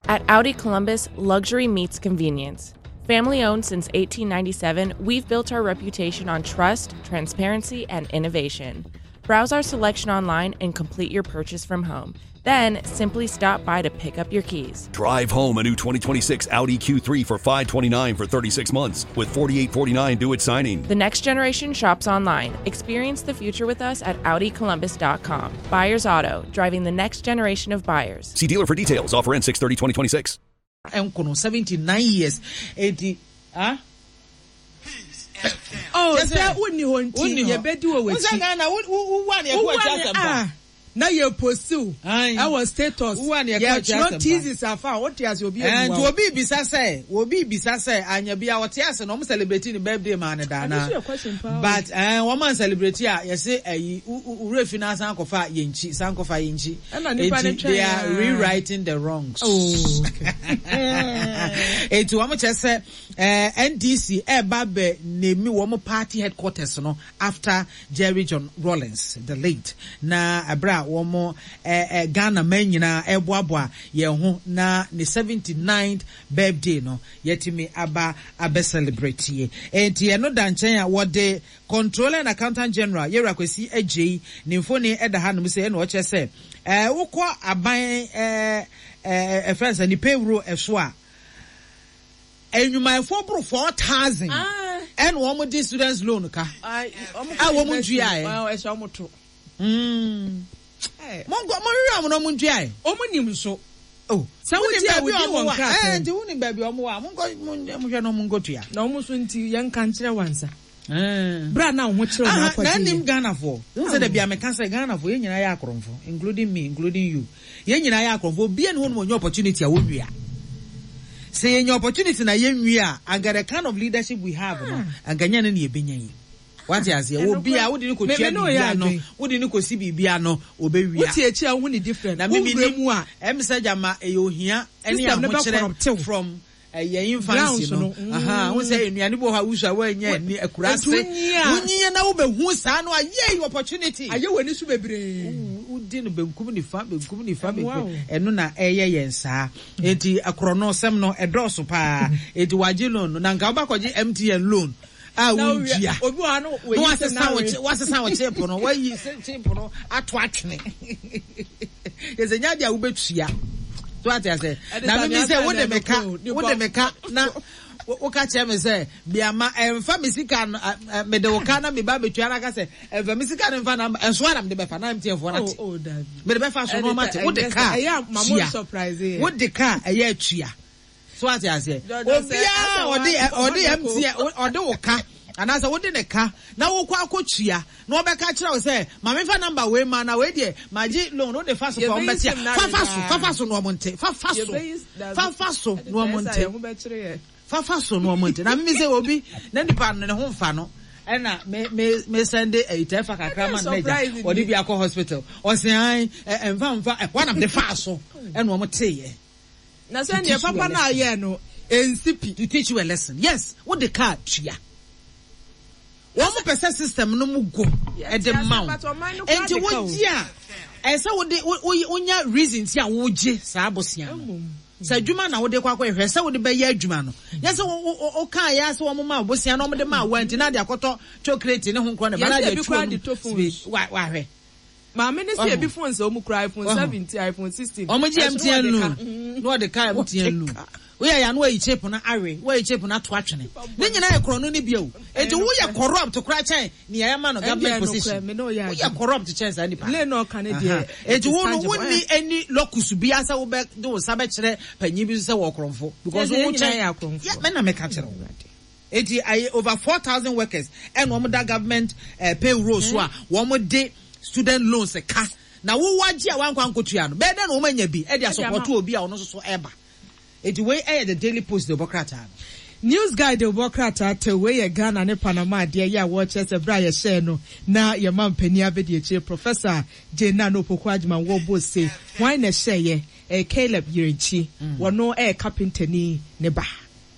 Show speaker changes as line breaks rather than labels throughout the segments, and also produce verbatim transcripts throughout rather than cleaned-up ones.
At Audi Columbus, luxury meets convenience. Family owned since eighteen ninety-seven, we've built our reputation on trust, transparency, and innovation. Browse our selection online and complete your purchase from home. Then simply stop by to pick up your keys.
Drive home a new twenty twenty-six Audi Q three for five twenty-nine for thirty-six months with forty-eight forty-nine due at signing.
The next generation shops online. Experience the future with us at Audi Columbus dot com. Byers Auto, driving the next generation of buyers.
See dealer for details. Offer ends six thirty twenty twenty-six.
Nkono seventy-nine years eti ah.
Oh, sɛ wonni hɔ nti yɛbɛdi wɔ w'akyi.
Wosɛ Ghana wuwa ne ɛkɔ akyi asɛm pa.
Na yɛ post ɛwɔ status, yɛtwerɛ thesis afa a wote ase, obi
emu. Nti obi bisa sɛ obi bisa sɛ anya bi a wɔte ase na wɔn celebrate ne birthday maa ne daana, but ɛn wɔn an celebrate a, yɛsɛ ɛyi wura fi na asan kɔfa yɛn nkyi, san kɔfa yɛn nkyi. Eti they are rewriting the wrongs.
Oh, okay.
Eti wɔn kyerɛ sɛ ɛɛ N D C ɛɛba bɛ name wɔn party headquarters no after Jerry John Rawlings the late, na abira a wɔn ɛɛ ɛɛ Ghana man nyinaa ɛboaboa yɛn ho na ne seventy ninth birthday no yɛtumi aba abɛ celebrate yie. Eti ɛno da nkyɛn a, wɔde Controller and Accountant General Yɛrɛ Akwasi Agyei ne mfoni ɛda ha nom sɛ ɛna ɔkyerɛ sɛ ɛɛ wokɔ aban ɛɛ ɛɛ ɛfɛn sɛ ne payroll ɛso a, enyumayɛfoɔ boro four thousand ɛna wɔn de students loan ka a wɔn ntua yɛ.
Ɛhyɛ wɔn to.
Mo nkɔ mo hwehwɛ wɔn na wɔn ntua yɛ.
Wɔn nim so.
Oh,
sɛ wotie a, wodi wɔn krataa.
Ɛɛ nti wunim baabi wɔn wɔ a, mo nkɔ mo hwɛ na wɔn nkɔ tua.
Na wɔn nso nti yɛn nka nkyerɛ wansa. Bra na ho kyerɛ wɔn akɔgye.
Na nim Ghanafoɔ n sɛ dabi ameka sɛ Ghanafoɔ yɛn nyinaa yɛ akorɔmfo, including me, including you. Yɛn nyinaa yɛ akorɔmfo. Obiara ni hɔ nom onye opportunity a wɔnwia. Sɛ yɛnya opportunity na yɛnwia a, anka the kind of leadership we have no, anka nyɛ no ne yɛbɛnya yi. Wate aseɛ? Obi a wode ne kɔtua biribi ano, wode ne kɔsi biribi ano, obɛwia.
Wote akyi a, wohu ne different.
Na mimi ni mu a ɛm sɛ gyama ɛyɛ ohia ɛne ahokyerɛ from ɛyɛ infancy no. Wo sɛ nnuane bi wɔ hɔ a wusu a wɔnyɛ ni akura ase, wonyinya na wobɛhu saa no a, yay, opportunity.
Ayɛ wɔ ani so bebree.
Wodi no benkum nifa, benkum nifa, benkum. Ɛno na ɛyɛ yɛn saa. Eti akorɔ sɛm no ɛdɔɔso paa. Eti wagye loan no na nka wobakɔgye M T N loan a wontua
obi wɔ ha no.
Na wasesa wo wasesa wo chip no, wayi chip no ato atwene, yɛsɛ nya deɛ a wobɛtua so, ate ase? Na mimi sɛ wode me ka wode me ka na woka kyerɛ me sɛ biama ɛmfa me sika no, mede wo ka na meba bɛtua no, aka sɛ ɛmfa me sika no mfa na ɛnso ara mede bɛfa na M T N foɔ no ate mede bɛfa so na ɔma te. Wode ka tua, wode ka ɛyɛ atua so, ate aseɛ? Obiara ɔde ɔde M T N, ɔde wo ka anaasɛ wode ne ka na wokɔ akɔtua na ɔbɛka kyerɛ wo sɛ maame fa number wei ma na wei deɛ magye loan, wode fa so pa ɔmbɛte a, fafa so, fafa so na ɔmo nte, fafa so, fafa so na ɔmo nte, fafa so na ɔmo nte. Na mimi sɛ obi na nipa no ne ho nfa no, ɛna me me me send ɛyi tɛ fa kakra ma no n'agya ɔde bi akɔ hospital, ɔsɛn an ɛ nfa nfa ɛ wɔnam de fa so ɛna ɔmo te yɛ.
Na sɛ neɛ papa no ayɛ no ɛnsi pi.
To teach you a lesson, yes. Wode car tua, wɔn pɛ sɛ system no mu go ɛde ma wo, nti wogye a, ɛsɛ wode wonya reason ti a wogye saa abosia no sɛ adwuma na wode kɔ akɔ hwɛ sɛ wode bɛyɛ adwuma no, nyɛ sɛ wokaa yɛ sɛ wɔn ma abosia na wɔn de ma awa nti na de akɔtɔ chocolate ne ho nkorɔ ne ba na de atu wɔn wahwɛ.
Maame ne sɛ ebi phone sɛ ɔmu kura iPhone seventeen, iPhone sixteen.
Ɔmo gye M T N loan na ɔde ka M T N loan, woyɛ ya no wayi chip no awe, wayi chip no ato atwene, ne nyinaa yɛ korɔ no ne bio. Eti woyɛ corrupt koraa kyɛn nea ɛma no government position. Woyɛ corrupt kyɛn saa nipa. Eti wo no wonni any locus bi asɛ wobɛ de wo nsa bɛkyerɛ panyin bi so sɛ wɔ korɔmfo, because wo kyɛn yɛ mɛ na mɛka kyerɛ wo. Eti ayi over four thousand workers ɛna wɔn da government uh, payroll so a wɔn de student loans ka, na wo wagye a wankɔ ankotua no bɛyɛ dɛ na wɔn anya bi ɛde asopɔto obi a ɔno nso so ɛba. Eti wei ɛyɛ The Daily Post de bɔ krataa no.
News Guide bɔ krataa te wei yɛ Ghana ne Panama adeɛ yɛ a wɔrekyerɛ sɛ berɛ a yɛhyɛɛ no na yɛma mpanin abɛdi akyire, Professor Jane Naana Opoku Agyemang wɔbɔ se hwan na ɛhyɛeɛ? Ɛyɛ Caleb Yirenkyi, wɔno ɛyɛ kapentani ne ba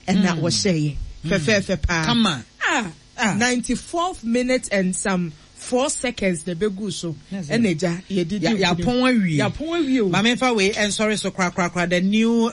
ɛna wɔhyɛeɛ fɛfɛɛfɛ paa.
Kama.
Ah, ninety fourth minute and some four seconds na ebegu so ɛna egya yɛde di.
Yɛapɔn awie.
Yɛapɔn awie o.
Maame nfa wei ɛnsɔre so korakorakora, the New